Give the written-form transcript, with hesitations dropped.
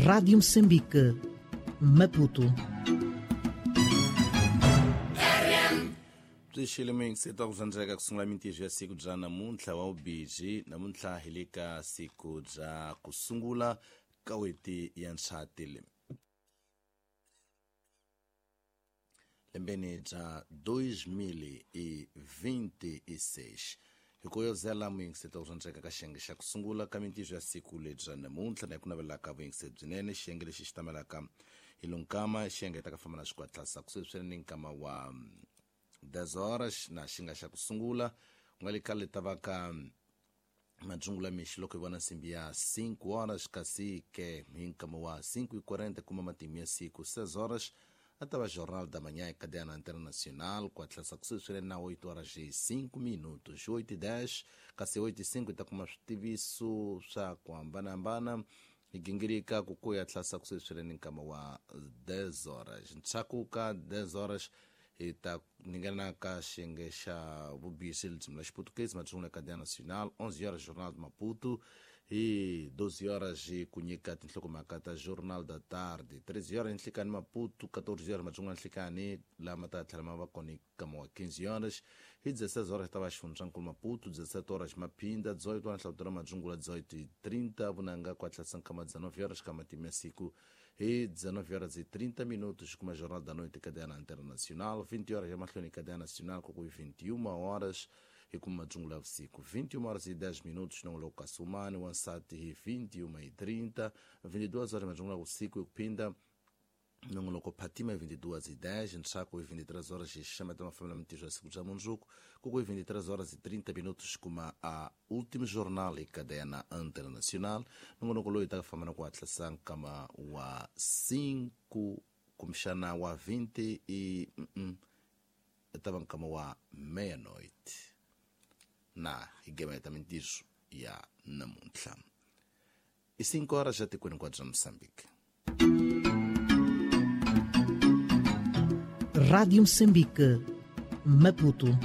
Rádio Moçambique, Maputo. Byi ku sungula mintirho ya siku bya namuntlha wa vubiji namuntlha hi le ka siku bya ku sungula ka n'hweti ya Ndzhati lembeni bya 2026. Hi ku yozela muyingiseti ku rhandzeka ka xiyenge xa ku sungula ka mintirho ya siku lebya namuntlha na hi ku navelaka vuyingiseri byinene. Xiyenge lexi xi tamelaka hi lunkama xiyenge ta ka famba na xikwatlasa kusuhi swinene nkama wa 10 horas na xi nga xa ku sungula ku nga le khale ta va ka madzungula mixi loko hi vona nsimbi ya 5 horas, kasi ke hi nkama wa 5:40 kuma matimu ya siku. 6 horas a ta va Jornal da Manhã cadeia Internacional ku hatlisa kusuhi swinene na 8 horas e 5 minutos, 8:10, kasi 8:05 ta kuma switiviso swa ku hambanahambana hi gingirika ku ku ya tlhasa kusuhi swinene nkama wa 10 horas. Ndzhaku ka 10 horas hi ta ningana ka xiyenge xa vubisi ririmi ra Xiputukezi madzungula cadeia nacional. 11 horas Jornal de Maputo, hi 12 horas hi ku nyika tinhlokomhaka ta Jornal da Tarde. 13 horas nhlikani Maputo, 14 horas madzungula nhlikani lama ta tlhela ma va kona nkama wa 15 horas. Hi 16 horas ta va xifundzankulu Maputo, 17 horas Maphinda, 18 horas Nhlawuto madzungula, 18:30 vunanga ku hatlisa nkama 19 horas ka matimu ya siku. Hi 19 horas e 30 minutos kuma Jornal da Noite cadeia Internacional. 20 horas ya mahlweni cadeia nacional, ku 21 horas hi kuma madzungula vusiku. 21 horas e 10 minutos nongoloko ka Sumani wansati hi 21:30. 22 horas madzungula vusiku hi kuphinda nongoloko Phatima hi 22:10. Ntsako hi 23 horas hi xixameta mafambelo mintirho ya siku bya mundzuku, ku 23 horas e 30 minutos kuma a último jornal e cadeia internacional. Nongonoko loyi ta famba na ku hatlisa nkama wa 5 kumbexana wa 20 e ta va nkama wa meia-noite na hi gemeta mintirho ya namuntlha i 5 horas ya tikweni hinkwabyo bya Moçambique. Rádio Moçambique, Maputo.